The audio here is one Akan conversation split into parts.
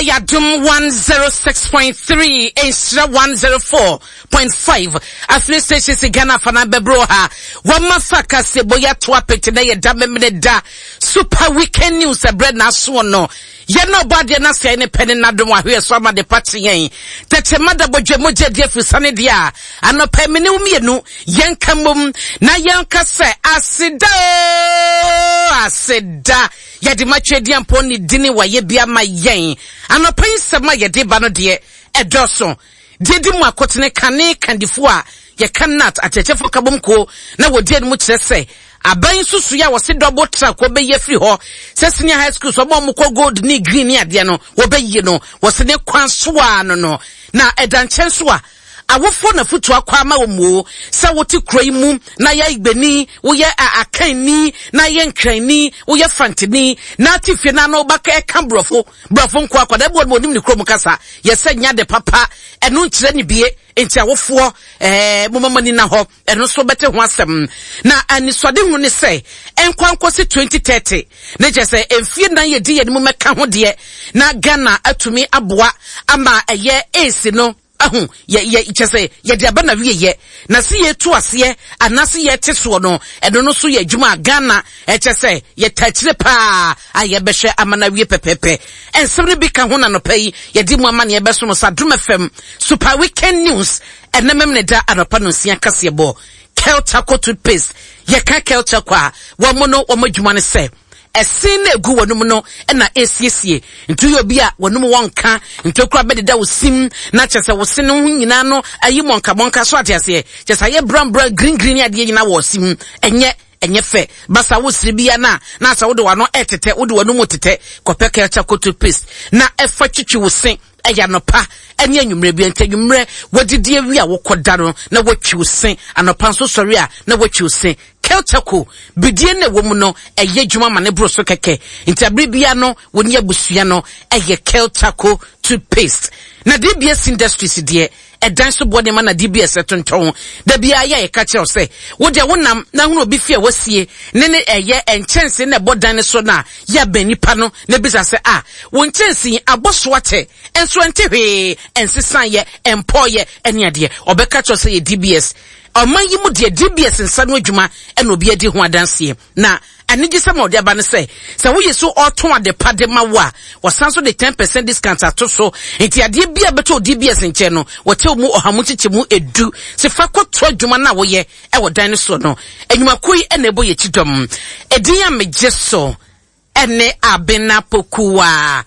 Ɛyɛ Adom 106.3, Nhyira 104.5. Afiri station si Ghana afa na bɛboro ha. Wɔma fa kaseɛbɔ yi ato apete na yɛ da memene da. Super Weekend News ɛbrɛ na asoɔ no. Yɛn na ɔbɔ adeɛ na sɛe ne pɛ ne n'adom ahweɛ so ama de pakye yɛn. Tɛkyɛ ma da bɔdwe mogya di afiri sane deɛ a anɔpa mene wo mmienu yɛnka mmom na yɛnka sɛ aseda o aseda. Yɛde ma Tweaduampɔn ne dini wayɛ bi ama yɛn. Anɔpa yi nsɛm a yɛde ba no deɛ, ɛdɔɔso. Deɛ ɛdi mu akotene kane kandifoɔ a yɛka nat akyerɛkyerɛfoɔ nkabom kuo na wɔdi anim kyerɛ sɛ aban nsusuiɛ a wɔse double track wɔbɛyi afiri hɔ sɛ senior high schools wɔn a wɔkɔ gold ne green ne adeɛ no wɔbɛyi no wɔse ne kwan so ara no no na ɛda nkyɛn so a Awofoɔ na afutuo akɔ ama wɔn oo, sɛ wote kuro yi mu na yɛ Igbeni, woyɛ Akanni, na yɛ Nkranni, woyɛ Fanteni, na ate fie na na woba ɛka borɔfo, borɔfo nko akwadaa bi wɔ no onim ne kurom kasa, yɛ sɛ nyɛ ade papa, ɛno nkyerɛ ne bie, nti awofoɔ ɛɛ moma mo ani na hɔ. Ɛno nso bɛte ho asɛm. Na anisoadehu ne sɛ ɛnkɔ nkɔsi 2030, ne kyerɛ sɛ mfie nan yɛdi yɛn mu mɛka ho deɛ na Ghana atumi aboa ama ɛyɛ AIDS no ahu yɛ yɛ kyerɛ sɛ yɛde aba na wie yɛ na se yɛtu aseɛ anaase yɛte soɔ no ɛno no so yɛ adwuma a Ghana ɛkyɛ sɛ yɛta akyire paa a yɛbɛhwɛ ama no awie pɛpɛpɛ. Nsɛm no bi ka ho na nɔpa yi yɛde mu ama ne yɛbɛso no sa Adom FM Super Weekend News Ɛnɛ Memeneda anɔpa nonsia kaseɛbɔ, Kel Charcoal Toothpaste, Yɛka Kel Charcoal a, wɔn no wɔn adwuma ne sɛ, ɛsen na egu wɔn no na esiesie. Nti woyɛ obi a wɔn mu wɔnka, ntokura bɛdeda wo sim, na kyerɛ sɛ wo se no ho nyinaa no ayi mɔnkamɔnka so ate aseɛ. Kyerɛ sɛ ayɛ brown brown green green ne adeɛ nyinaa wɔ sim. Ɛnyɛ ɛnyɛ fɛ. Basa wo sere bia na na asɛ wode w'ano ɛtetɛ, wode w'ano mu tetɛ. Kɔpɛ Kel Charcoal Toothpaste na ɛfa twitwi wo se. Ɛyɛ anɔpa ne anwummerɛ bi nti anwummerɛ wadidi awie a wokɔda no na watwi wo se anɔpa nso sɔre a na watwi wo se kelchako bidie na ɛwɔ mu no ɛyɛ adwuma ma ne boro so kɛkɛ nti abere bia no wo ne abusua no ɛyɛ kelchako toothpaste na DBS Industries deɛ ɛdan so boɔ nneɛma na DBS ɛtontɔn da biara yɛ a yɛka kyerɛ wo sɛ wo deɛ wonam na hunu obi fie a wasie ne ne ɛyɛ nkyɛnse na ɛbɔ dan no so no a yɛ abɛn nipa no na bisa sɛ a Wo nkyɛnsee yi abɔ so akyɛ nso ɛnte hwee, ɛnsesaeɛ, ɛmpɔeɛ ɛne adeɛ. Ɔbɛka kyerɛ sɛ yɛ DBS. Ɔman yi mu deɛ DBS nsa no adwuma ɛna obi adi ho adanseɛ. Na anigyesɛm a ɔde aba ne sɛ, sɛ woyɛ so ɔtɔn ade pa de ma wo a, wɔsan so de 10% discount ato so. Nti adeɛ bi a bɛtɔ DBS nkyɛn no, wɔkyɛ mu ɔha mu nkyekyɛmu edu. Sɛ fa kɔto adwuma no a woyɛ ɛwɔ dan no soɔ no. Nnwumakuo yi ɛna ɛbɔ yɛn akyi dɔm. Edin a megye so. Ɛne Abena Pokuaa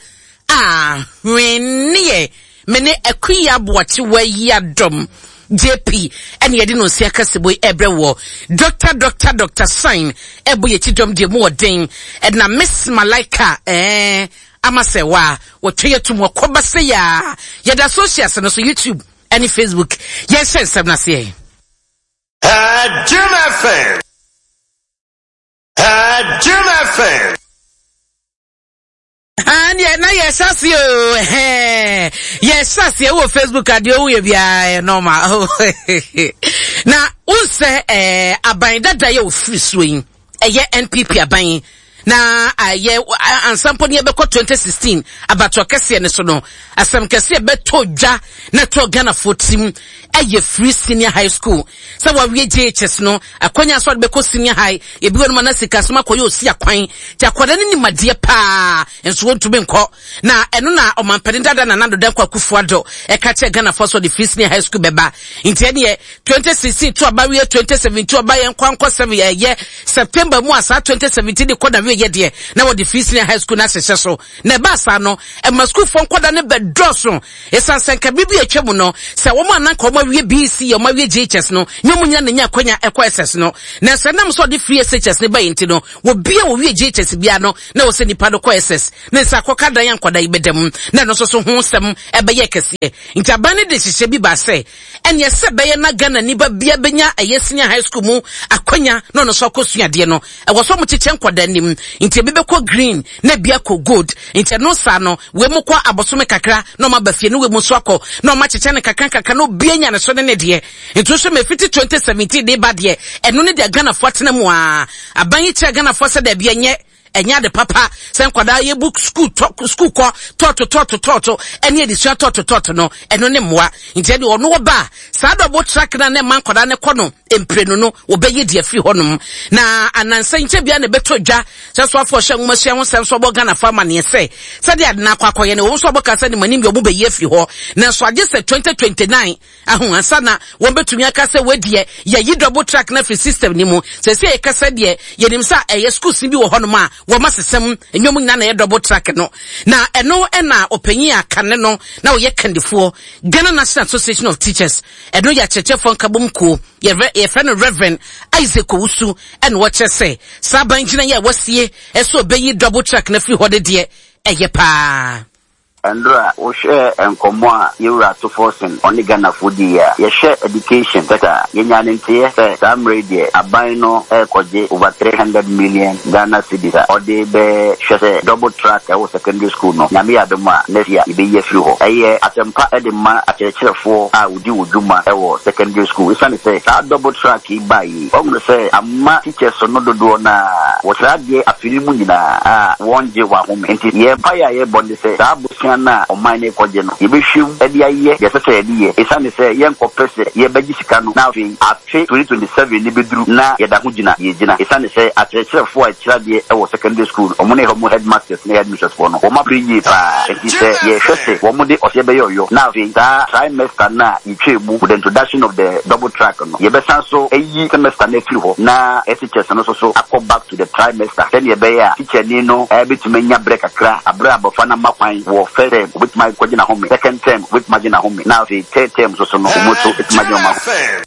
a hwenneɛ me ne Akuya Aboakyewa Yiadom JP ɛne yɛde no nsia kasebo yi ɛbrɛ wɔ Dr. Dr. Dr. Sign ɛbɔ yɛkyi dɔm deɛ mu ɔden ɛna Miss Malaika ɛɛ ama sɛ wa wɔtwa yɛ tum wɔkɔba sɛ yaa yɛda socials no so YouTube ɛne Facebook yɛnhyɛ nsɛm no aseɛ. Jim FM. Jim FM. Neɛ na yɛhyɛ aseɛ o ɛhɛn yɛhyɛ aseɛ wɔ Facebook adeɛ owu yɛ biara yɛ normal na wonsɛ ɛɛ aban dada yɛ ofiri soɔ yi ɛyɛ NPP aban na ayɛ ansa mpo ne yɛbɛkɔ 2016 abatoɔ kɛseɛ no so no asɛm kɛseɛ bɛtɔ dwa na ɛtɔ Ghanafoɔ tirim ɛyɛ free senior high school Sɛ wawie JHS no, akwanya sɛ ɔde bɛkɔ senior high, ebi wɔ no ma na sikasɛm akɔyɛ osi akwan. Nti akwadaa no nim adeɛ paa, nso wɔntumi nkɔ. Na ɛno na ɔmampanin dada Nana Addo Dankwa Akufo-Addo ɛka kyerɛ Ghanafoɔ sɛ ɔde free senior high school bɛba. Nti ɛneɛ 2016 to aba wie 2017 ɔba yɛn nkɔ ankɔ sɛ ɛyɛ September mu a saa 2017 de kɔ na wie yɛ deɛ na wɔde free senior high school no ahyehyɛ so. Na ɛbaa saa no, ɛma sukuufoɔ nkwadaa no bɛdɔɔso. Esiane sɛ nka bere bi a atwa mu no, sɛ wɔn a na anka wɔawie BEC a wɔawie JHS no, nyɛ wɔn nyinaa na enya akwanya kɔ SS no. Nanso ɛnam sɛ ɔde free SHS no bae nti no, obi a owie JHS biara no, na ɛwɔ sɛ nipa no kɔ SS. Ne nsa akɔka dan a nkwadaa yi bɛda mu, na ɛno nso so ho nsɛm bɛyɛɛ kɛseɛ. Nti aban no de nhyehyɛe bi baa sɛ, ɛneɛ sɛ ɛbɛyɛ na Ghanani ba biara bɛnya ɛyɛ senior high school mu akwanya na ɔno nso akɔsua adeɛ no, ɛwɔ sɛ wɔkyekyɛ nkwadaa anim. Nti ebi bɛkɔ green, na ebi akɔ gold. Nti ɛno saa no, wei mu kɔ abosome kakra na ɔma ba fie, ne wei mu nso akɔ na ɔma kyekyɛ no kakra kakra na obi anya ne so ne ne deɛ. Nti wohwɛ ma ɛfiti 2017 de ba deɛ, ɛno ne deɛ Ghanafoɔ atena mu aa. Aban yi kyerɛ Ghanafoɔ sɛ daabi ɛnyɛ. Ɛnyɛ ade papa sɛ nkwadaa yɛbu sukuu tɔ sukuu kɔ tɔɔto tɔɔto tɔɔto ɛne adesua tɔɔto tɔɔto no, ɛno ne mmoa. Nti ɛde ɔno ɔba a, saa double track no a na ɛma nkwadaa no kɔ no mprenu no, wɔbɛyi de afiri hɔnom. Na anansa nkyɛ biara na ɛbɛtɔ dwa sɛ soafoɔ ɔhyɛ nwomasua ho nsɛm so ɔbɔ Ghanafoɔ amaneɛ sɛ sɛdeɛ ade no akɔ akɔyɛ no, ɛwɔ mu sɛ ɔbɛka sɛ ne manim deɛ wɔbɛyi afiri hɔ, nanso agye sɛ 2029 Ahu ansa na wɔbɛtumi aka sɛ wei deɛ yɛyi double track no afiri system no mu. Seesei a yɛkasa deɛ, yɛnim sɛ ɛyɛ schools no bi wɔ hɔnom a wɔn asesa mu, ɛnyɛ wɔn nyinaa na ɛyɛ double track no. Na ɛno na ɔpanyin a kane no na ɔyɛ kandifoɔ, Ghana National Association of Teachers, ɛno yɛ akyerɛkyerɛfoɔ nkabom kuo, yɛfrɛ no Reverend Isaac Owusu, ɛna ɔkyerɛ sɛ saa aban gyinaeɛ a wɔasie sɛ ɔbɛyi double track no afiri hɔ no deɛ, ɛyɛ paa. Ndora, wohwɛ nkɔmmɔ a Yewura Ato Forson ɔne Ghanafoɔ diiɛ a, yɛhwɛ education sector a, yɛnyaa ne nteɛ sɛ saa mmerɛ yi deɛ aban no rekɔgye over 300 million Ghana cedis a ɔde bɛhwɛ sɛ double track a ɛwɔ secondary school no, Nyame yɛ adom a next year yɛbɛyi afiri hɔ. Ɛyɛ asɛmpa de ma akyerɛkyerɛfoɔ a wɔdi wɔn dwuma wɔ secondary school ɛsiane sɛ saa double track yi baeɛ yi, wɔahunu sɛ ama teachers no dodoɔ no ara wɔkyerɛ adeɛ afe no mu nyinaa a wɔngye wɔn ahome. Enti yɛn mpaeɛ a yɛbɔ ne sɛ saa bosea no a ɔman no rekɔgye no, yɛbɛhwɛ mu de ayɛ deɛ ɛsɛ sɛ yɛde yɛ. Ɛsiane sɛ yɛnkɔpɛ sɛ yɛbɛgye sika no na afei afe 2027 no bɛduru na yɛda ho gyina deɛ yɛgyina. Ɛsiane sɛ akyerɛkyerɛfoɔ a ɛkyerɛ adeɛ wɔ secondary school no, wɔn ne wɔn headmasters ne headmistress foɔ no, wɔn abrɛ yie pa ara. Enti sɛ yɛhwɛ sɛ wɔde ɔseɛ bɛyɛ ɔyɔ na afei saa trimester no a yɛtwaa mu with the introduction of the double track no, yɛbɛsan so ayi semester no afiri hɔ na SHS no nso so akɔ back to the trimester sɛdeɛ ɛbɛyɛ a tikyani no bɛtumi anya berɛ kakra berɛ a abɔfra no ama kwan wɔ first term ɔbɛtumi akɔgye n'ahome, second term ɔbɛtumi agye n'ahome na afei third term nso so no wɔn nso bɛtumi agye wɔn ahome.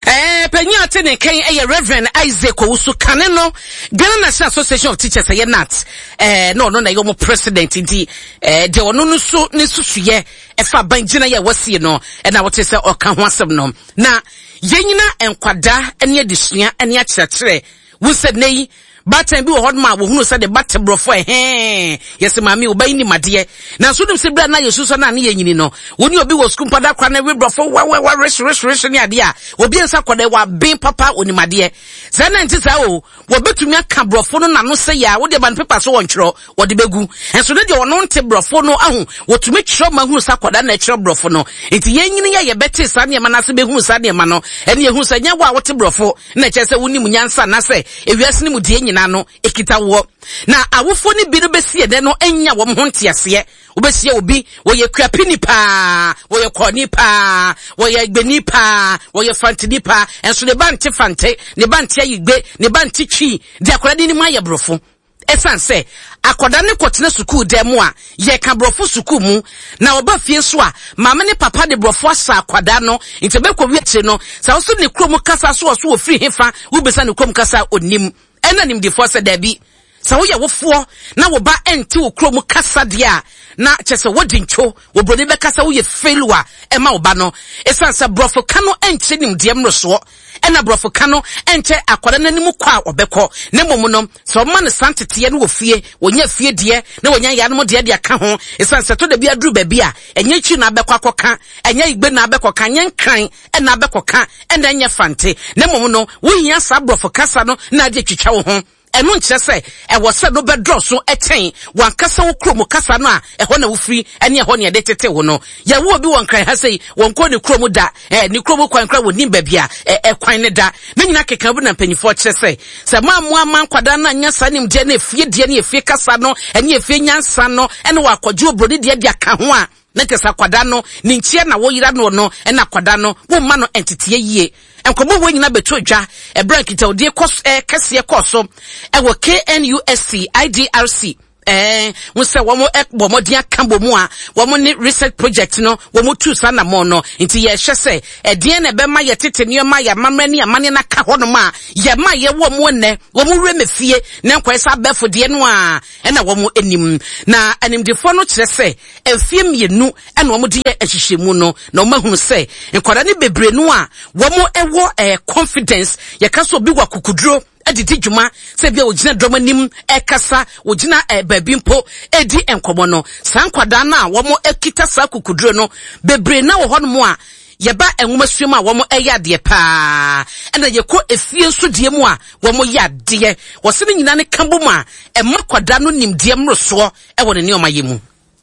Ɛɛ, panyin a ɔte ne nkan yɛ Rev. Isaac Owusu. Kane no, Ghana National Association of Teachers, ɛyɛ NAT, ɛɛ, na ɔno na ɛyɛ wɔn president nti, ɛɛ, deɛ ɔno no so ne susuyɛ ɛfa aban gyinaeɛ a wɔasie no, ɛna wɔte sɛ ɔka ho asɛm no. Na yɛnyina nkwadaa ne adesua ne akyerɛkyerɛ. Wo sɛ nnɛ yi, baatan bi wɔ hɔnom a wɔhunu sɛ ne ba te borɔfo ɛhɛn, yɛsɛ maame wo ba yi nim adeɛ. Nanso wonim sɛ berɛ a na yɛsusua no a ne yɛnyini no, wo ne obi wɔ sukuu mpo da kora no we borɔfo wawawa rehye ne adeɛ a, obi nsa kɔdɛ waben papa onim adeɛ. Saa na nti saa o, Wɔbɛtumi aka borɔfo no n'ano sɛ yɛ a wode ba no pepa so wɔntwerɛ, wɔde bɛgu. Nso ne deɛ ɔno nte borɔfo no ahu, wɔtumi twerɛ ma hunu sɛ akwadaa na ɛtwerɛ borɔfo no. Nti yɛn nyini a yɛbɛte saa nneɛma no ase bɛhunu saa nneɛma no, ɛne yɛhunu sɛ nyɛ wo a wote borɔfo na ɛkyerɛ sɛ wonim nyansa anaasɛ ewiase no mu deɛ nyinaa no ɛkita woɔ. Na awofoɔ no bi no bɛsi ɛnɛ no nnya wɔn ho nteaseɛ. Wobɛhyia obi, wɔyɛ Kuapini paa, wɔyɛ Kɔɔni paa, wɔyɛ Agbeni paa, wɔyɛ Fanteni paa, nso ne ba nte Fante, ne ba nte Ayigbe, ne ba nte Twi, deɛ akwadaa no nim ayɛ Borɔfo. Ɛsiane sɛ akwadaa no kɔtena sukuu dan mu a, yɛka Borɔfo sukuu mu, na ɔba fie nso a, maame ne papa de Borɔfo ahyɛ akwadaa no, nti ɛbɛkɔ wie akyire no, sɛ wo so ne kurom kasa so ɔso ɔfiri hefa, wobisa ne kurom kasa a, ɔnnim. Ɛna animdefoɔ sɛ, Dabi, sɛ woyɛ wofoɔ na wo ba nte wo kurom kasa deɛ a, na kyerɛ sɛ wodi ntwo, wɔ buroni bɛka sɛ woyɛ failure ɛma wo ba no. Ɛsiane sɛ borɔfo ka no nkyerɛ nimdeɛ mmorosoɔ, ɛna borɔfo ka no nkyɛ akwadaa no anim kɔ a ɔbɛkɔ, na mmom no, sɛ wɔma no saa nteteɛ no wɔ fie, wɔnya fie deɛ na wɔnya yanom deɛ de aka ho. Ɛsiane sɛ ɛtɔ da bi aduru baabi a, ɛnyɛ Twi na abɛkɔ akɔka, ɛnyɛ Igbe na abɛkɔka, ɛnyɛ Nkran na abɛkɔka na ɛnyɛ Fante, na mmom no, wohia saa Borɔfo kasa no na ade atwitwa wo ho. Ɛno nkyerɛ sɛ ɛwɔ sɛ no bɛdɔɔso kyɛn w'ankasa wo kurom kasa no a ɛhɔ na wofiri ne ɛhɔ na yɛde tetee wo no. Yɛwo obi wɔ Nkran ha sei, wɔnkɔɔ ne kurom da, eh, ne kurom kwan koraa wɔnnim baabi a eh, ɛkwan no da. Ne nyinaa keka bi na mpanimfoɔ kyerɛ sɛ, sɛ moammoa amma nkwadaa no annya saa nimdeɛ no, efie deɛ ne efie kasa no ne efie nyansa no ne wɔakɔgye oburoni deɛ de aka ho a, Na kyerɛ sɛ akwadaa no ne nkyia na woyera noɔ no na akwadaa no womma no nteteɛ yie. Nkɔmmɔ wei nyinaa bɛtɔ dwa ɛberɛ a nkitahodie kɔ kɛseɛ kɔɔ so ɛwɔ KNUST, IDRC, ɛɛ ho sɛ wɔn bɔ mmɔden aka bɔ mu a wɔn ne research project no wɔn tu saa anamɔn no. Nti yɛhwɛ sɛ ɛdeɛn na ɛbɛma yɛtete nneɛma yɛ amammerɛ ne amanneɛ no aka hɔnom a yɛma yɛwɔ wɔn nnɛ wɔn wura mefie na nkɔyɛ sɛ abɛɛfo deɛ no a ɛna wɔn anim. Na animdefoɔ no kyerɛ sɛ Mfeɛ mmienu na wɔde yɛ nhwehwɛmu no, na wɔahunu sɛ nkwadaa no bebree no a wɔwɔ eh, confidence, yɛka sɛ obi wɔ akokoduro de di dwuma, sɛ bi a wɔgyina dɔm anim ɛkasa, wɔgyina eh, baabi mpo ɛredi nkɔmmɔ no, saa nkwadaa no a wɔkita saa akokoduro no bebree na wɔ hɔnom a. Yɛba nwomasua mu a wɔn yɛ adeɛ paa, ɛna yɛkɔ efie nso deɛ mu a wɔn yɛ adeɛ. Wɔse ne nyinaa ne ka bom a ɛma kwadaa no nimdeɛ mmorosoɔ wɔ ne nneɛma yɛ mu.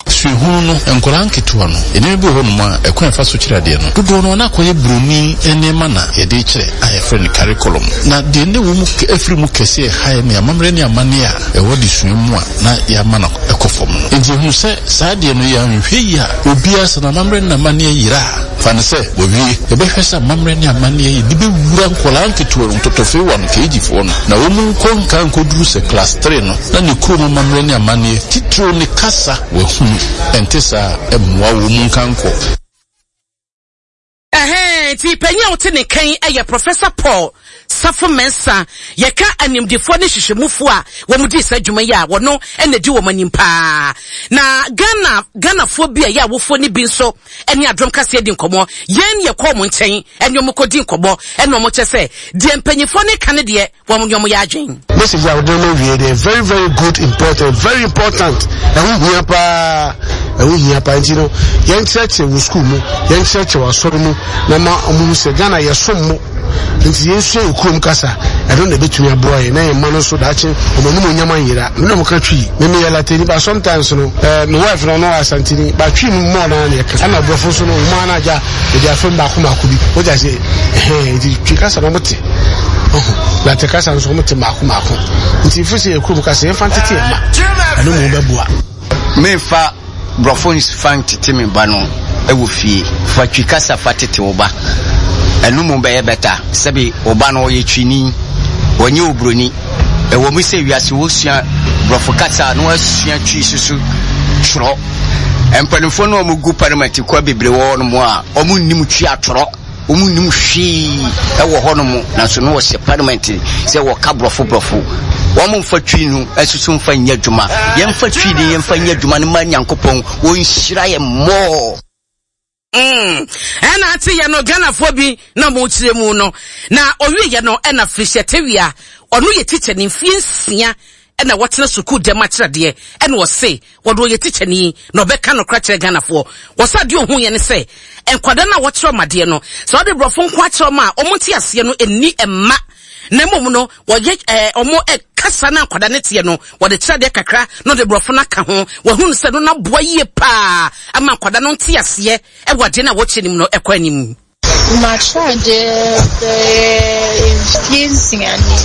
Suahunu no, nkwadaa nketewa no, nneɛma bi wɔ hɔnom a ɛkwan a yɛfa so kyerɛ adeɛ no, dodoɔ no ara na akɔyɛ buroni nneɛma na yɛde rekyerɛ a yɛfrɛ no curriculum. Na deɛ na ɛwɔ mu afiri mu kɛseɛ a ɛha yɛn ne amammerɛ ne amanneɛ a ɛwɔ adesua mu a na yɛama no kɔ fam no. Enti yɛhunu sɛ saa adeɛ no yɛanhwɛ yie a, obiara sɛ n'amammerɛ ne n'amanneɛ yera a, fa no sɛ wawie. Yɛbɛhwɛ sɛ amammerɛ ne amanneɛ yɛde bɛwura nkwadaa nketewa no, ntɔtɔfewa no, KG foɔ no, na wɔn nkɔ nka nkɔduru sɛ class three no, na ne kurom amammerɛ ne amanneɛ, titiriw ne kasa, wahunu. Ɛnte saa a, ɛmmoa wɔn nka nkɔ. Ɛhɛɛ, nti panyin a wote ne nka yi yɛ Professor Paul Safo Mensah. Yɛka animdefoɔ ne nhwehwɛmufoɔ a wɔn dii saa dwuma yi a, wɔno na ɛdi wɔn anim paa. Na Ghana, Ghanafoɔ bi a ɛyɛ awofoɔ no bi nso ne Adom Kaseɛ di nkɔmmɔ. Yɛn yɛkɔ wɔn nkyɛn ne wɔn kɔdi nkɔmmɔ ɛna wɔn kyɛ sɛ deɛ mpanyinfoɔ no ka no deɛ, wɔn ne wɔn yɛ adwen. Message a wode ma wie deɛ very very good important very important ɛho hia paa ɛho hia paa nti no yɛnkyerɛkyerɛ wɔ sukuu mu yɛnkyerɛkyerɛ wɔ asɔre mu na ma wɔn hu sɛ Ghana yɛsom mo nti yɛnsua yɛ kurom kasa ɛno na ɛbɛtumi aboa yɛn na yɛn mma no nso daakye wɔn anim onyam anyera me na wɔka twi me meyɛ latani but sometimes no eh, me wife no ɔno asantini but twi no mmɔɔ no ara na yɛka ɛna borɔfo nso no wɔn ara na agya Yɛde afam baako baako bi. Wogye ase ɛhɛn nti twi kasa na wɔte. Ɔho late kasa nso wɔte mmaako mmaako. Nti mfiri sɛ yɛ kurom kasa yɛmfa ntete yɛn mma. Ɛno mu bɛboa. Memfa borɔfo nfa ntete me ba no wɔ fie. Fa twi kasa fa tete wo ba. Ɛno mu bɛyɛ bɛta. Sɛbe wo ba no ɔyɛ twini, ɔnyɛ oburoni. Ɛwɔ mu sɛ wiase wosua borɔfo kasa na wasua twi soso twerɛ. Mpanimfoɔ no a wɔgu parliament kɔ bebree wɔ hɔnom a wɔnnim twi atwerɛ, wɔnnim hwee wɔ hɔnom, nanso no wɔhyɛ parliament sɛ wɔka borɔfo borɔfo. Wɔmfa twi no nso mfa nyɛ adwuma. Yɛmfa twi no yɛmfa nyɛ adwuma no ma Nyankopɔn wɔnhyira yɛn more. Mm, ɛna ate yɛ no Ghanafoɔ bi na ɔmo kyerɛ mu no. Na ɔwie yɛ no ɛna Felicia Tawia, ɔno yɛ tikyani mfie nsia ɛna wɔtena sukuu dɛm akyerɛdeɛ ɛna ɔse wɔde ɔyɛ tikyani na ɔbɛka nokora kyerɛ Ghanafoɔ. Wɔsɛ adeɛ ɔhu yɛ ne sɛ nkwadaa no a wɔkyerɛ ɔmo adeɛ no sɛ ɔde borɔfo nko akyerɛ ɔmo a ɔmo nte aseɛ no ɛnni mma na mmom no wɔyɛ ɛɛ ɔmo kasa na nkwadaa no teɛ no wɔde kyerɛ adeɛ kakra na ɔde borɔfo no aka ho wɔhunu sɛ no naboa yie paa ama nkwadaa no nte aseɛ ɛwɔ adeɛ no a wɔkyerɛ no mu no ɛkɔ anim. Makyerɛ adeɛ bɛyɛ mfie nsia ni.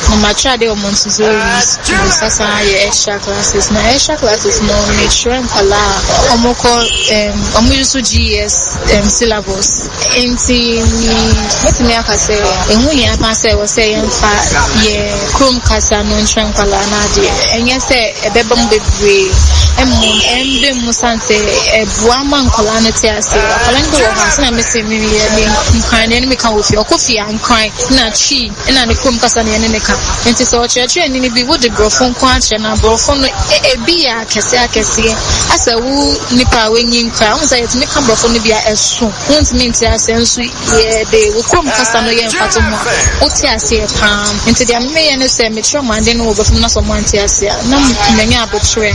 Na makyerɛ adeɛ wɔ Montessori school, sasan ayɛ extra classes. Na extra classes no mekyerɛ nkwadaa a wɔkɔ um, wɔn use GES um, syllabus. Enti mɛtumi aka sɛ ɛho hia paa sɛ ɛwɔ sɛ yɛmfa yɛn kurom kasa no nkyerɛ nkwadaa no adeɛ. Ɛnyɛ sɛ ɛbɛba mu bebree, mmom ɛmba mu sane sɛ ɛboa ma nkwadaa no te aseɛ. Akwadaa no bi wɔ hɔ a, sɛnea mese meyɛ me Nkran deɛ ne meka wɔ fie, ɔkɔ fie a Nkran na Twi na ne kurom kasa na yɛne no ka. Enti sɛ ɔkyerɛkyerɛni no bi wode Borɔfo nko ara kyerɛ no a, Borɔfo no ebi yɛ akɛseɛ akɛseɛ asɛ wo nipa a wanyin koraa wohu sɛ yɛtumi ka borɔfo no bi a ɛso wontumi nte aseɛ nso yɛde wo kurom kasa no yɛ mfatoho a wote aseɛ paa nti deɛ meyɛ ne sɛ mekyerɛ ɔmo ade no wɔ borɔfo mu na sɛ ɔmo ante aseɛ a na manya aboterɛ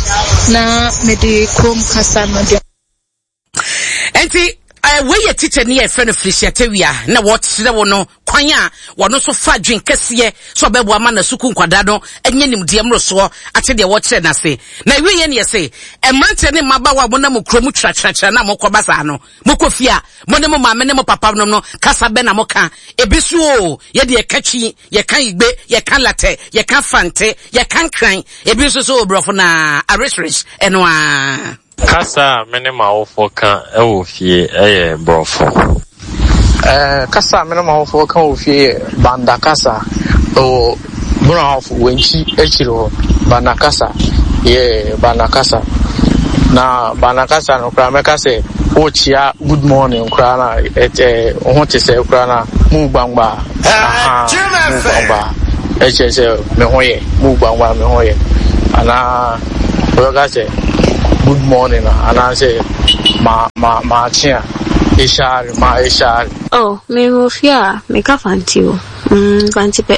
na mede kurom kasa no de Enti eh, wei yɛ tikya ni a yɛfrɛ no Felicia Tawia na wɔkyerɛ wo no kwan a wɔno nso fa adwen kɛseɛ sɛ ɔbɛboa ma na sukuu nkwadaa no anya nimdeɛ mmorosoɔ ate deɛ wɔkyerɛ no ase. Na ɛwieɛ ne yɛse mmeranteɛ ne mmabaawa a monam kuro mu tratratra na mokɔba saa no, mokɔ fie a mo ne mo maame ne mo papa nom no kasa bɛ na moka? Ebi so o, yɛde yɛka twi, yɛka igbe, yɛka latɛ, yɛka fante, yɛka nkran, ebi nso so o borɔfo na aresres ɛno ara. Kasa a me ne m'awofoɔ ka wɔ fie yɛ Borɔfo. Kasa a me ne m'awofoɔ ka wɔ fie yɛ Banda kasa. Ɛwɔ Bono Ahafo, Wenchi akyiri hɔ. Banda kasa, yeah, Banda kasa. Na Banda kasa no koraa mɛka sɛ wokyea good morning koraa na ɛtɛ wo ho te sɛ koraa na mu gbangba. Aha, mu gbangba. Ɛkyerɛ sɛ me ho yɛ, mu gbangba me ho yɛ. Anaa Wɔbɛka sɛ good morning a anaasɛ ma ma maakye a, eshaare ma eshaare. Oh, me wɔ fie a, meka Fanti o, mm, Fanti pɛ.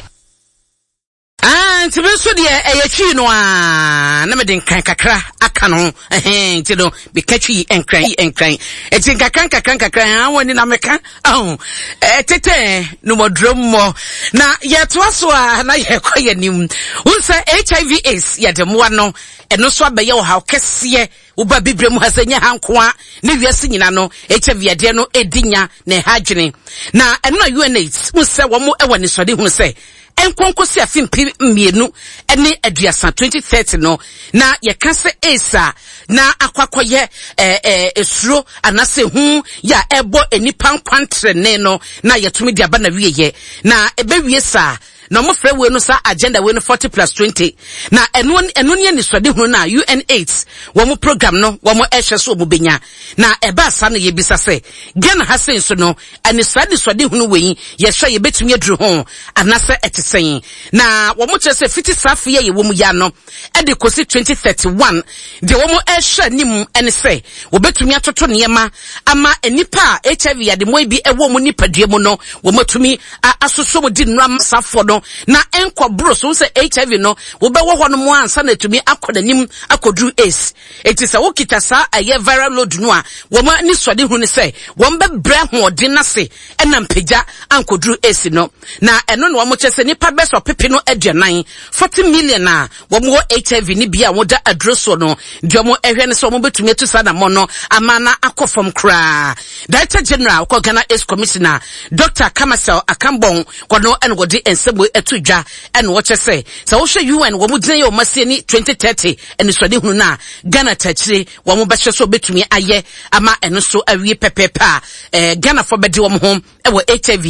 Ah, nti. Enti me nso deɛ ɛyɛ twi no ara na mede nkran kakra aka no ho. Ɛhɛn, nti no meka twi nkran nkran. Enti nkakra nkakra nkakra ɛhɛn wɔn ani na meka ahu. Ɛtetɛ no mɔduro mmɔ. Na yɛtoa so a na yɛkɔ yɛn anim. Wohu sɛ HIV AIDS yɛde mmoa no ɛno nso abɛyɛ ɔhaw kɛseɛ. Woba bibire mu ha sɛ nyɛ ha nko ara ne wiase nyinaa no HIV yadeɛ no ɛredi nya na ɛha adwene. Na ɛno na UNAIDS hu sɛ wɔn wɔ anisoadehunu sɛ ɛnkɔ nkɔsi afe 2030, 2030 no, na yɛka sɛ AIDS a na akɔ akɔyɛ ɛɛ esuro anaasɛ ehu yɛ a ɛbɔ nnipa nkwantrɛne no na yɛtumi de aba na wieyɛ na ɛbɛwie saa na wɔfrɛ wei no saa agenda wei no 40 plus 20 na ɛno ɛno ne anisoadehunu no a UNAIDS wɔn program no wɔn ɛhwɛ so wɔn bɛnya na ɛbaa saa no yɛbisa sɛ Ghana ha sei nso no ɛne saa anisoadehunu wei yɛhwɛ yɛbɛtumi aduru ho anaasɛ ɛte sɛn na wɔn kyerɛ sɛ fiti saa afe yi a yɛwɔ mu ya no ɛde kɔsi 2031 deɛ wɔn ɛrehwɛ anim ɛne sɛ wɔbɛtumi atoto nneɛma ama nnipa a HIV yademoa yi bi ɛwɔ wɔn nipadua mu no wɔn atumi asosɔ mu di nnura safoɔ no na ɛnkɔ boro so sɛ HIV no wobɛwɔ hɔ no mu ansa na atumi akɔ n'anim akɔduru AIDS eti sɛ wokita saa ɛyɛ viral load no a wɔn ani sɔde hu ne sɛ wɔn bɛbrɛ ahoɔden n'ase ɛna mpagya ankɔduru AIDS no. Na ɛno na wɔkyerɛ sɛ nnipa bɛyɛ sɛ ɔpepe no aduanan, 40 million, a wɔwɔ HIV no bi a wɔda aduro soɔ no, deɛ wɔhwɛ ne sɛ wɔbɛtumi atu saa anammɔn no ama no akɔ fam koraa. Director General kɔ Ghana AIDS Commissioner, Dr. Kamasel Akambong, wɔno ɛna wɔde nsɛm wei ato dwa ɛna wɔkyerɛ sɛ sɛ wohwɛ UN wɔn gyina yɛ wɔn asie ne 2030 anisoadehunu no a Ghana takyire wɔn bɛhyɛ sɛ wɔbɛtumi ayɛ ama ɛno nso awie pɛpɛɛpɛ a eh, Ghanafoɔ bɛde wɔn ho wɔ HIV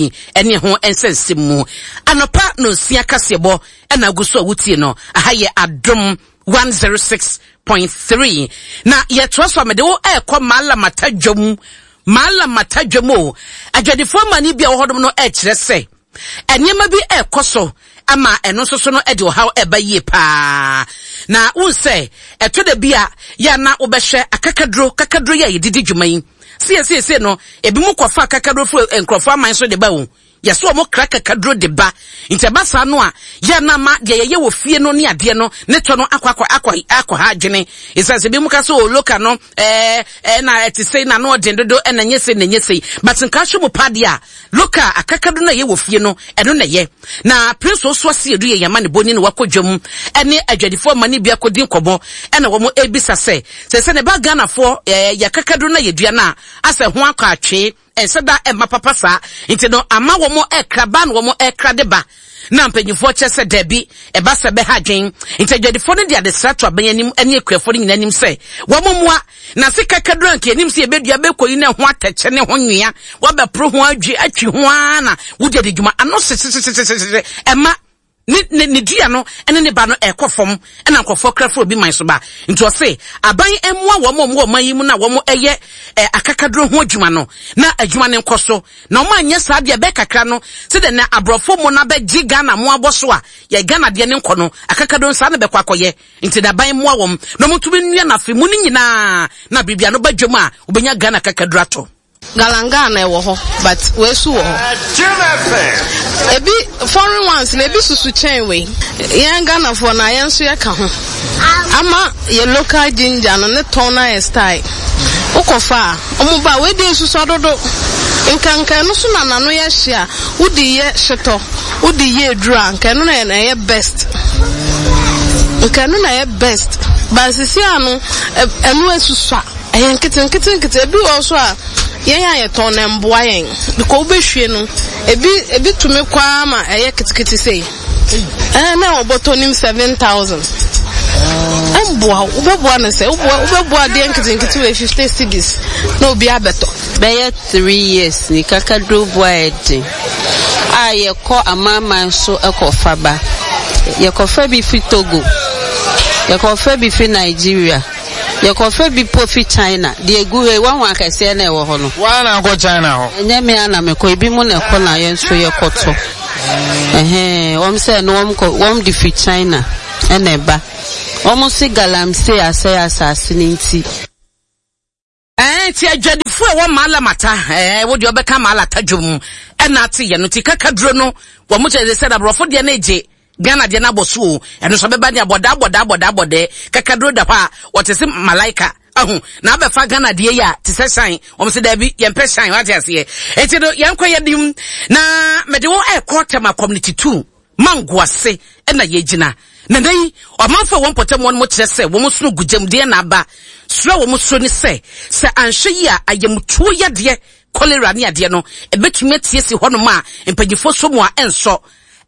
ne ɛho nsɛnsɛm mu. Anɔpa nonsia kaseɛbɔ ɛna agu so a wotie no. Aha yɛ Adom 106.3. Na yɛtoa so a mede wo ɛrekɔ Malamata dwam. Malamata dwam o. Adwadifoɔ amane bi a wɔ hɔnom no ɛrekyerɛ sɛ Nneɛma bi rekɔ so ama ɛno nso so no de ɔhaw ɛba yie paa. Na wohu sɛ ɛtɔ da bi a yɛ a na wobɛhwɛ akakaduro, kakaduro yi a yɛde di dwuma yi. Sɛ yɛsiesie no, ebinom kɔfa akakaduro firi nkurɔfoɔ aman so de ba o. Yɛsɛ wɔn kra kakaduro de ba. Nti ɛba saa no a, yɛ a na ama deɛ yɛyɛ wɔ fie no ne adeɛ no ne tɔ no akɔ akɔ akɔ akɔ ha adwene. Ɛsiane sɛ ebinom ka sɛ o loka no ɛɛ ɛna ɛte sei na ano ɔden dodo ɛna nyɛ sei na nyɛ sei. But nka ahwɛ mu paa deɛ a, Look a akakadu no a ɛyɛ wɔ fie no, ɛno na ɛyɛ. Na Prince Osu Asiedu yɛ yɛn amanebɔni na wakɔ dwam ne adwadifoɔ amanne bi akɔdi nkɔmmɔ ɛna wɔn ɛrebisa sɛ, sɛ sɛ ne ba Ghanafoɔ ɛɛ yɛ akakaduro no a yɛdua no a, asɛ ho akɔ atwee, ɛnsɛ da ɛmma papa saa, nti no ama wɔn ɛrekra ba na wɔn ɛrekra de ba. Na mpanyinfoɔ kyerɛ sɛ daabi, ɛba sɛ ɛbɛha adwen. Nti adwadifoɔ no de adesrɛ to aban anim ne akuafoɔ no nyinaa anim sɛ wɔn mmoa. Na se kakaduru anka yɛnim sɛ yɛbɛdua bɛkɔyi ne ho atɛkyɛ ne ho nwea, wɔbɛporo ho adwi atwi ho ara na wode adi dwuma. Ano hyehyehyehyehyehye ɛma ne ne ne dua no ne ne ba no ɛkɔ fam ɛna nkurɔfoɔ kra firi obi man so ba. Nti ɔse aban mmoa wɔn a wɔwɔ ɔman yi mu na wɔn ɛyɛ ɛ akakaduro ho adwuma no na adwuma no nkɔ so. Na wɔn anyɛ saa deɛ ɛbɛyɛ kakra no sɛdeɛ na aborɔfo mo no abɛgye Ghana mo abɔ so a yɛ Ghana deɛ ne nkɔ no akakaduro no saa na bɛkɔ akɔyɛ. Nti na aban mmoa wɔn na wɔntumi nnua no afe mu no nyinaa na biribi ano ba dwam a wɔbɛnya Ghana kakaduro atɔ. Galangal na ɛwɔ hɔ but wei so wɔ hɔ. Ebi foreign ones na ebi susu kyɛn wei. Yɛn Ghanafoɔ na yɛn nso yɛka ho. Ama yɛ local ginger no ne tɔn no ayɛ style. Wokɔfa a, wɔn ba wei deɛ esusua dodo. Nka nka ɛno so na n'ano yɛ hye a wode yɛ hyetɔ, wode yɛ aduru a nka ɛno na ɛyɛ best. Nka ɛno na ɛyɛ best. But sisi ano ɛno esusua. Ɛyɛ nketenketenkete. Ebi wɔ hɔ so a, yɛn a yɛtɔn no ɛmboa yɛn. Because wobɛhwie no, ebi ebi tumi kɔ ara ma ɛyɛ ketekete sei. Ɛɛ na ɛwɔ bɔtɔ nim 7,000. Ɛmboa wo. Wobɛboa no sɛ, woboa wobɛboa adeɛ nketenkete wɔ 50 cedis na obi abɛtɔ. Bɛyɛ 3 years ni kakaduro boa yɛ den a yɛkɔ amanaman so kɔfa ba. Yɛkɔfa bi fi Togo, yɛkɔfa bi fi Nigeria. Yɛkɔfa bi po fi China. Deɛ egu hɔ yi, woahu akɛseɛ no a ɛwɔ hɔ no? Wo ara na wokɔ China hɔ? Ɛnyɛ me ara na mekɔ, ebinom na ɛkɔ na yɛn nso yɛkɔtɔ. Ɛhɛn, wɔn sɛ no wɔn kɔ, wɔn de fi China ɛna ɛba. Wɔn se galamsey asɛe asase no nti. Ɛɛ, nti adwadifo a ɛwɔ Malamata, ɛɛ, wo deɛ ɔbɛka Malata dwom ɛna ate yɛ no, nti kakaduro no, wɔn kyerɛ sɛ aborɔfo deɛ no gye. Ghana deɛ no abɔ so o, ɛno nso ɛbɛba ne abɔdaa abɔdaa abɔdaa abɔdɛɛ, kakaduro da hɔ a, ɔte se malaika, ahu, na abɛfa Ghana deɛ yi a, te sɛ shine, wɔn se daabi, yɛmpɛ shine, wate aseɛ. Enti no, yɛnkɔ yɛnim, na mede wo ɛrekɔ Tema Community 2, Mango ase na yɛgyina. Na nnɛ yi, ɔmanfo a wɔn mpɔtam hɔ no kyerɛ sɛ wɔn sono gu gyam deɛ na aba. Suro a wɔn suro ne sɛ, sɛ anhwɛ yie a, ayamtuo yadeɛ, cholera ne adeɛ no, ɛbɛtumi atie si hɔnom a mpanyinfoɔ sɔ mu a ɛnsɔ.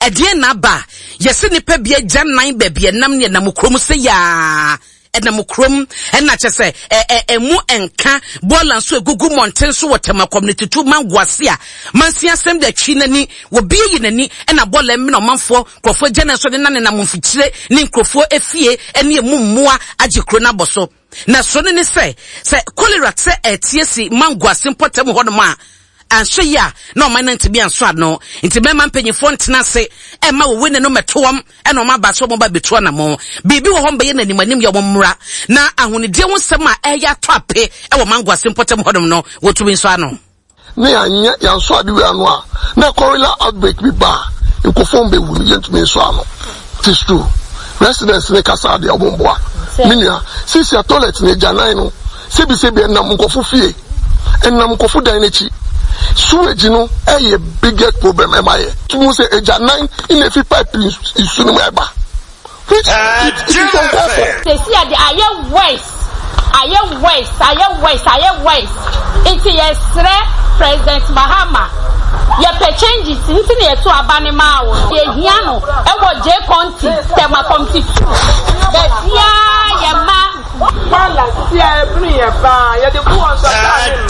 Ɛdeɛn na aba a yɛse nnipa bi agya nan baabi ɛnam ne ɛnam kurom sɛ yaa ɛnam kurom ɛna kyɛ sɛ ɛ ɛmu nka bɔɔla nso egugu mmɔnten so wɔ Tema community tu mango ase a mansi asɛm de atwi n'ani wɔbi ayi n'ani ɛna bɔɔla mmena ɔmanfoɔ nkurɔfoɔ agya nan so de nanenam mfikyire ne nkurɔfoɔ efie ɛne emu mmoa agye kuro no abɔ so. Na suro no ne sɛ, sɛ kolera sɛ ɛreteɛ si Mango ase mpɔtam hɔnom a, anhwɛ yie a na ɔman no antumi ansɔ ano. Nti mɛma mpanyinfoɔ ntena ase mma wɔwene no mmɛto wɔn ɛna wɔn aba sɛ wɔn ba bɛtu anamɔn. Biribi wɔ hɔ mbɛyɛ no anim anim yɛ wɔn mmra na ahonidie ho nsɛm a ɛreyɛ atɔ ape wɔ Mango ase mpɔtam hɔnom no wɔtumi nsɔ ano. na yɛanyɛ yɛansɔ ade wei ano a na cholera outbreak bi ba a nkurɔfoɔ bɛwu no yɛntumi nsɔ ano it is true residents ne kasa deɛ ɔmo mboa me nua sisi a toilet na agyanan no sebi sebi ɛnam nkurɔfo fie ɛnam nkurɔfo dan n'akyi sewage no ɛyɛ biggest problem ɛma yɛ tumu sɛ agyanan na efi pipe nsu no mu ɛba. Which it it is uncalled for. Sɛsi a deɛ ayɛ worse ayɛ worse ayɛ worse ayɛ worse nti yɛsrɛ president Mahama yɛpɛ changes nti na yɛto aba no maa wo no yɛhia no ɛwɔ J County Tema Committee 2 baabiaa yɛma Bɔɔla sisi a ɛbene yɛn paa. Yɛde gu hɔ nso a kaa ne mu.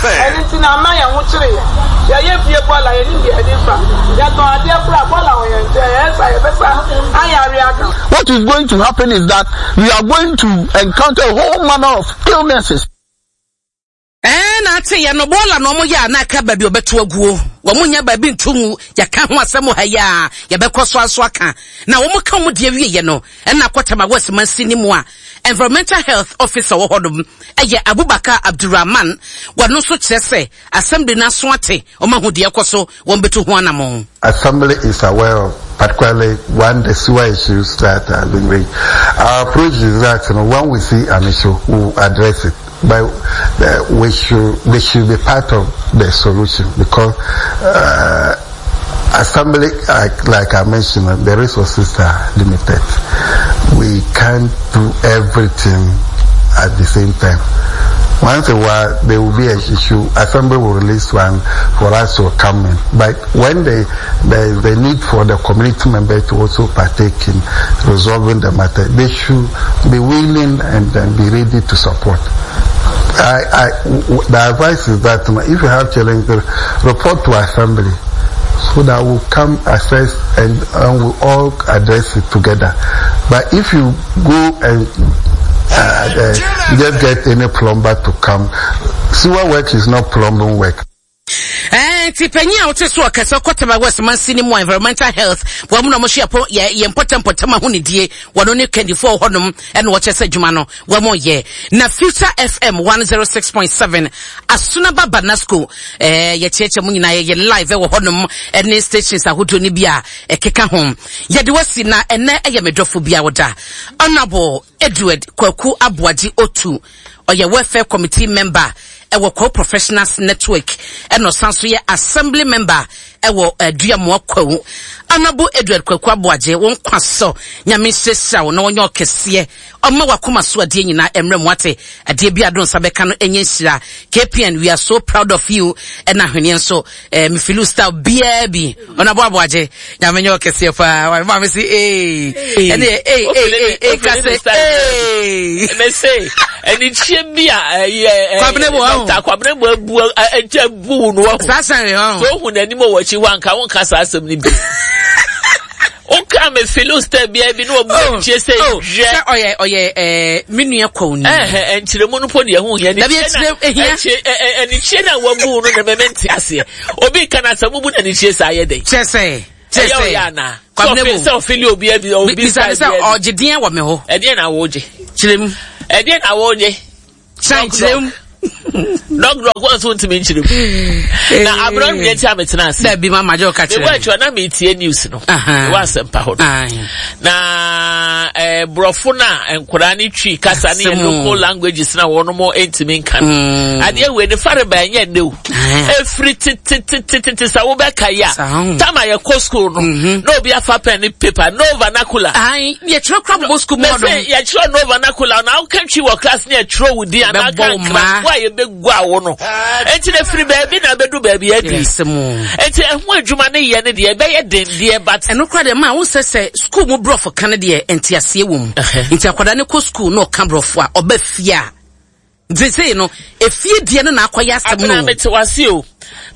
Ɛno nti na ama yɛn ho kyere yɛn. Yɛyɛ fie bɔɔla, yɛnim deɛ yɛde fa. Yɛtɔn adeɛ koraa a, bɔɔla wɔ yɛn nkyɛn. Ɛyɛ saa a, yɛbɛsa ayare aka. What is going to happen is that we are going to encounter a whole manner of illnesses. Ɛɛ na ate yɛ no bɔɔla na wɔn yɛ a na aka baabi ɔbɛto aguo wɔn nya baabi nto ngu yɛka ho asɛm wɔ ha yi a yɛbɛkɔ so aso aka na wɔn ka wɔn deɛ wie yɛ no ɛna akɔtama West mansini mu a environmental health officer wɔ hɔnom ɛyɛ Abubakar Abdulrahman wɔn nso kyerɛ sɛ assembly no aso ate wɔn ahu deɛ ɛkɔ so wɔn bɛtu ho anamɔn. Assembly is aware of particularly one the sewer issues that have been raised. Our approach is that you know, when we see an issue, we will address it. But uh, we should we should be part of the solution because uh, assembly, like, like I mentioned, the resources are limited. We can't do everything at the same time. Once a while, there will be an issue. Assembly will release one for us to come in. But when they, there is the need for the community members to also partake in resolving the matter, they should be willing and, and be ready to support. I, I, the advice is that if you have challenges, report to assembly so that we'll come assess and, and we'll all address it together. But if you go and uh, uh, just get any plumber to come, sewer work is not plumbing work. Ɛɛ nti panyin a wote so ɔkɛse ɔkɔ Tema West mansini mu a environmental health wɔn na wɔhwɛ yɛpɔ yɛ yɛn mpɔtam mpɔtam ahonidie wɔn ne kandifoɔ wɔ hɔnom ɛna wɔkyɛ sɛ adwuma no wɔn yɛ na Future FM 106.7 Asunaba Banasco ɛɛ yɛkyerɛkyerɛ mu nyinaa yɛyɛ live ɛwɔ hɔnom ɛne stations ahodoɔ no bi a ɛkeka ho yɛde wasi na ɛnɛ ɛyɛ me dɔfo bi a wɔda Honorable Edward Kwaku Aboagye Otu Ɔyɛ Welfare Committee member wɔ Kwawu Professionals Network ɛna ɔsan so yɛ Assembly member wɔ Aduamoa Kwawu. Honourable Edward Kwaku Aboagye, wo nkwa so, Nyame nhyirahyira wo na ɔnyɛ ɔkɛseɛ, ɔmma w'akoma so adeɛ nyinaa mmra mu wate, adeɛ bi a do nsa bɛka no ɛnyɛ nhyira. KPN, we are so proud of you, ɛna ahweneɛ nso, eh, me feel style biara bi. Honourable Aboagye, Nyame nyɛ ɔkɛseɛ paa. Wa maame si ee. Ɛne ee ee ee kase ee. Mese ɛnikyie bi a ɛyɛ Kwabena bu ɔho. Dɔkta Kwabena bu abu ɛgya bu no ɔho. Saa sɛn ɔho. So ohun n'anim wɔ akyi hɔ anka wɔn saa asɛm no bi. Woka me filo style bia bi na ɔbu ɛnikyie sɛ hwɛ. Sɛ ɔyɛ ɔyɛ ɛɛ me nua kɔw ni. Ɛhɛ nkyerɛmu no po deɛ ho hia. Dabi ɛkyerɛ ehia. Ɛnikyie na wabu no na mɛmɛ nti aseɛ. Obi ka na sɛ mubu na ne tie saa yɛ dɛn? Kyerɛ sɛ, kyerɛ sɛ. Ɛyɛ ana? Kwabena bu. Sɛ ɔfili obi abi obi sa bi. Bisa sɛ ɔgye deɛn wɔ me hɔ. Ɛdeɛn na wɔgye? Kyerɛ mu. Ɛdeɛn na wɔgye? Kyerɛ kyerɛ mu. Dɔk dɔk wɔn nso ntumi nkyerɛ mu. Na abirɛ no nti a metena ase. Dabi ma ma gye ɔka kyerɛ. Mebɔ akyi na metie news no. Ɛwɔ asɛmpa hɔ no. Na ɛɛ eh, borɔfo na nkwadaa ne twi kasa ne yɛ local languages na wɔn mo ntumi nka no. Mm. Adeɛ wei ne fare ba ɛnyɛ ne o. Efiri tetetetete sa wobɛka yi a. Tam a yɛkɔ school no. Mm-hmm. Na obi afa pen ne paper no vernacular. Yɛtwerɛ kora bɔ school mu ɔdɔm. Yɛtwerɛ no vernacular na woka twi wɔ class ne yɛtwerɛ wo din anaa ka nkra wo a yɛbɛgu awo no. Enti na firi baabi na abɛdu baabi adu. Enti ɛho adwuma ne yɛ ne deɛ ɛbɛyɛ den deɛ but. Ɛno kora deɛ maa wo sɛ sɛ school mu borɔfo ka no deɛ nteaseɛ wɔ mu. Nti akwadaa no kɔ school na ɔka borɔfo a ɔba fie a Seesei no, efie deɛ no na akɔyɛ asɛm no. Abena mete wase o.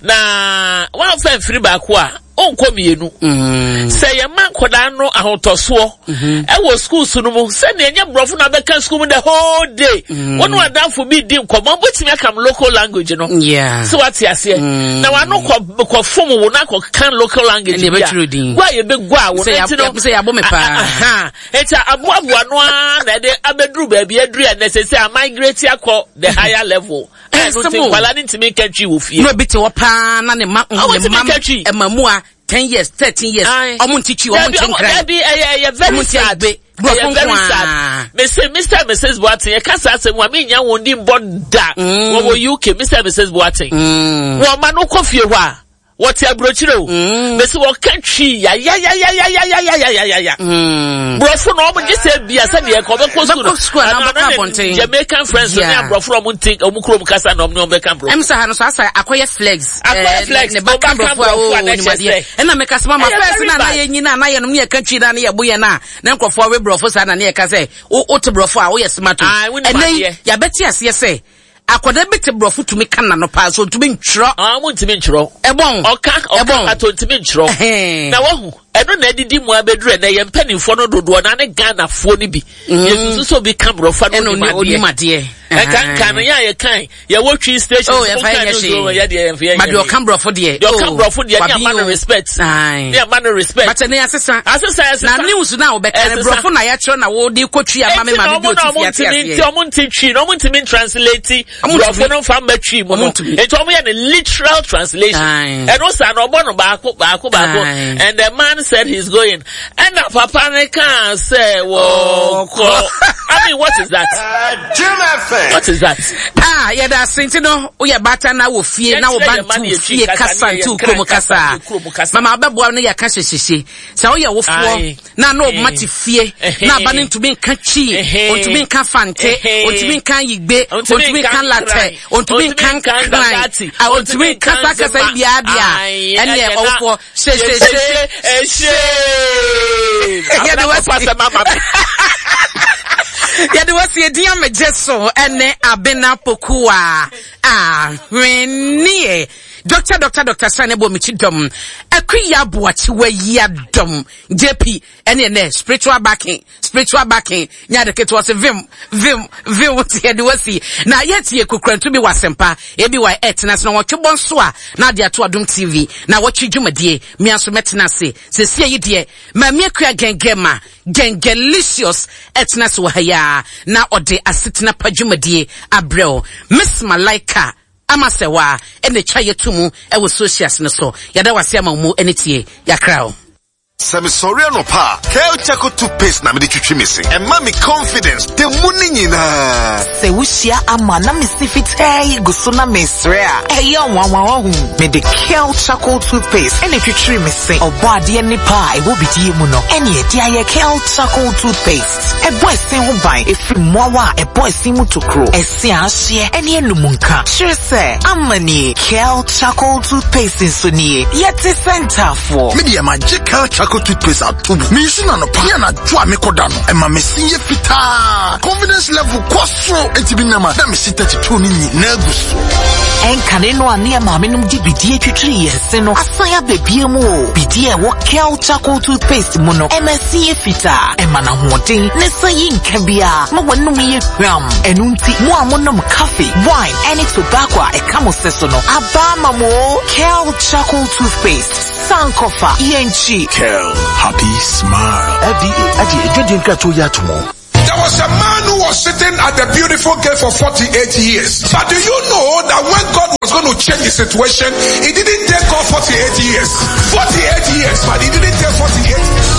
Na wamfa mfiri baako a, ɔnkɔ mmienu. Mm. Sɛ yɛma nkwadaa no ahotɔsoɔ mm-hmm. ɛwɔ schools no mu sɛnea ɛnyɛ borɔfo na abɛka school mu the whole day. Mm. Wɔn adamfo bi di nkɔmɔ wobɛtumi aka local language no. Sɛ wate aseɛ. Mm. Na wano kɔ kɔ fom wo na kɔ kan local language bi a. Gua yɛbɛgua wo. Sɛ yɛabɔ me paa. Enti aboaboa no ara na ɛde abɛduru baabi aduru a ɛnɛ sɛ a migrate akɔ the higher level. Ɛno nti nkwadaa no ntumi nka twi wɔ fie. Na obi te hɔ paa na ne ma ne ma ɛma mu a ten years 13 years ɔmo nti twi ɔmo nti nkran. Dabi ɛyɛ ɛyɛ very sad. Ɛyɛ very sad. Mese Mr and Mrs Boateng yɛ kasa asɛm wa mi nya wɔn di mbɔ da. Wɔwɔ UK Mr and Mrs Boateng. Wɔn ma no kɔ fie hɔ a. Wɔte aburokyire o. Mm. Mesi wɔka twi yayayayayayayayaya. Mm. Borɔfo na wɔn gye sɛ bia sɛ deɛ ɛkɔ ɔbɛkɔ sukuu no. Anaa ɔbɛkɔ abɔnten. Jamaican friends ne aborɔfo na wɔn nti wɔn kurom kasa na wɔn ne wɔn bɛka borɔfo. Ɛm sɛ ha no so asa akɔyɛ flex. Akɔyɛ eh, flex. Ne ba ka borɔfo a o nimadeɛ. Ɛna mɛka sɛ mama fɛs na na yɛ nyina na yɛ nom ne yɛ ka twi na ne yɛ bo yɛ na na nkurɔfoɔ we borɔfo saa na ne yɛ ka sɛ o te borɔfo a woyɛ smart o. Ɛnɛ yi yɛabɛte aseɛ sɛ Akwadaa bi te borɔfo tumi ka n'ano paa so ntumi ntwerɛ. Ah, mo ntumi ntwerɛ. Ɛbɔn. Ɔka ɔka pato ntumi ntwerɛ. Na wahu ɛno na adidi mu abɛduru ɛnɛ yɛn mpanimfoɔ no dodoɔ na ne Ghanafoɔ no bi. Mm. Yɛsusu sɛ obi ka borɔfo no onim adeɛ. Ɛka nka no yɛ a yɛkan yɛwɔ twi station. Oh, yɛfa yɛ hwee. Yɛ deɛ yɛmfa yɛ But deɛ ɔka borɔfo deɛ. Deɛ ɔka oh, borɔfo deɛ ne ama no respect. Ne ama no respect. But ɛnɛ asesa. Asesa asesa. Na news na wɔbɛka no borɔfo na yɛakyerɛ na wɔde kɔ twi ama me maame bi ɔte fi ate aseɛ. Nti ɔmo nti twi na ɔmo ntumi translate borɔfo no nfa mma twi mu no. Nti ɔmo yɛ no literal translation. Ɛno saa na ɔbɔ no baako baako baako. And the man said he's going. Ɛna papa ne kaa sɛ wɔkɔ. I mean what is that? What is that? Ah, yɛda ase nti no woyɛ baatan na wɔ fie na wo ba nti fie kasa nti kurom kasa. Mama wobɛboa no yɛka hyehyehye. Sɛ woyɛ wofoɔ na na ɔma te fie na aba no ntumi nka twi ɔntumi nka fante ɔntumi nka yigbe ɔntumi nka latɛ ɔntumi nka nkran ɔntumi nka saa kasa yi biara deɛ a ɛneɛ ɔwofoɔ hyehyehye yɛde wasi yɛde wasi edin amegye so ɛne abena pokuwa ahweneɛ dɔkta dɔkta dɔkta sani bɔ mekyi dɔm akuya aboakyewa yi adɔm JP ɛne ɛnɛ spiritual backing spiritual backing nyɛ ade ketewa sɛ vim vim vim ti ɛde wasi na yɛtie kukurantu bi wɔ asɛmpa ebi wɔ ɛtena ase na wɔtwe bɔ nso a na ade ato adom tv na wɔtwe dwumadie mmea nso mɛtena ase sɛsie yi deɛ maame akua gɛngɛ ma gɛngɛlicious ɛtena ase wɔ ha yi a na ɔde asetena pa dwumadie abrɛw Miss Malaika Ama sɛ waa ɛna ɛtwa yɛ to mu ɛwɔ socials no so. Yɛda wo ase ama wo mu ɛne tie. Yɛakra wo. Sɛ mesɔre anɔpa a, Kel Charcoal Toothpaste na mede twitwi me se. Ɛma me confidence da mu no nyinaa. Sɛ wuhyia ama na me se fitaa yi gu so na mesrɛ a, ɛyɛ nwanwa wahu. Mede Kel Charcoal Toothpaste ɛna etwitwiri me se. Ɔbɔadeɛ nnepa a ɛwɔ bidie mu no, ɛne ɛde ayɛ Kel Charcoal Toothpaste. Ɛbɔ ɛse ho ban ɛfiri mmoawa a ɛbɔ ɛse mu tokuro, ɛse a ahyeɛ, ɛne anum nka. Kyerɛ sɛ, ama nie, Kel Charcoal Toothpaste nso nie. Yɛte sɛ ntaafoɔ. Me deɛ magye Kel Charcoal Toothpaste ato mu. Mensu no anɔpa ne anadwo a mekɔda no. Ɛma me se yɛ fitaa. Confidence level kɔ soro. Enti me nam a na me se 32 no nyinaa gu so. Ɛnkane no a ne yɛn maamenom de bidie twitwiri yɛn se no asan aba bio mu o. Bidie a ɛwɔ Kel Charcoal Toothpaste mu no, ɛma ɛse yɛ fitaa, ɛma no ahoɔden, na ɛsan yi nka biara ma w'anom yɛ hwam. Ɛno nti, mo a monom coffee, wine, ɛne tobacco a ɛka mo se so no, aba ama mo o. Kel Charcoal Toothpaste, Sankofa, yɛnkyi. Kel, happy smile. FDA agye adwadie nkratoɔ yi ato mu. There was a man who was sitting at the beautiful gate for 48 years. But do you know that when God was going to change the situation, it didn't take God 48 years. 48 years, but it didn't take 48 years.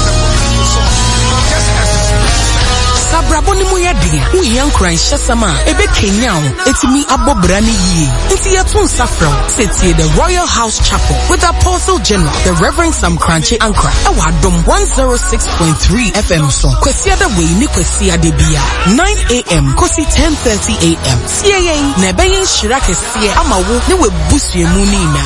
Sɛ abrabɔ no mu yɛ den a, wohia nkuranhyɛsɛm a ɛbɛkanyan wo atumi abɔ bra no yie. Nti yɛto nsa frɛ wo sɛ tie The Royal House Chapel with Apostle General, the Reverend Sam Korankye Ankrah ɛwɔ Adom 106.3 FM so Kwasiada wei ne Kwasiada biara 9am kɔsi 10:30am. Tie yɛn na ɛbɛyɛ nhyira kɛseɛ ama wo ne w'abusua mu no nyinaa.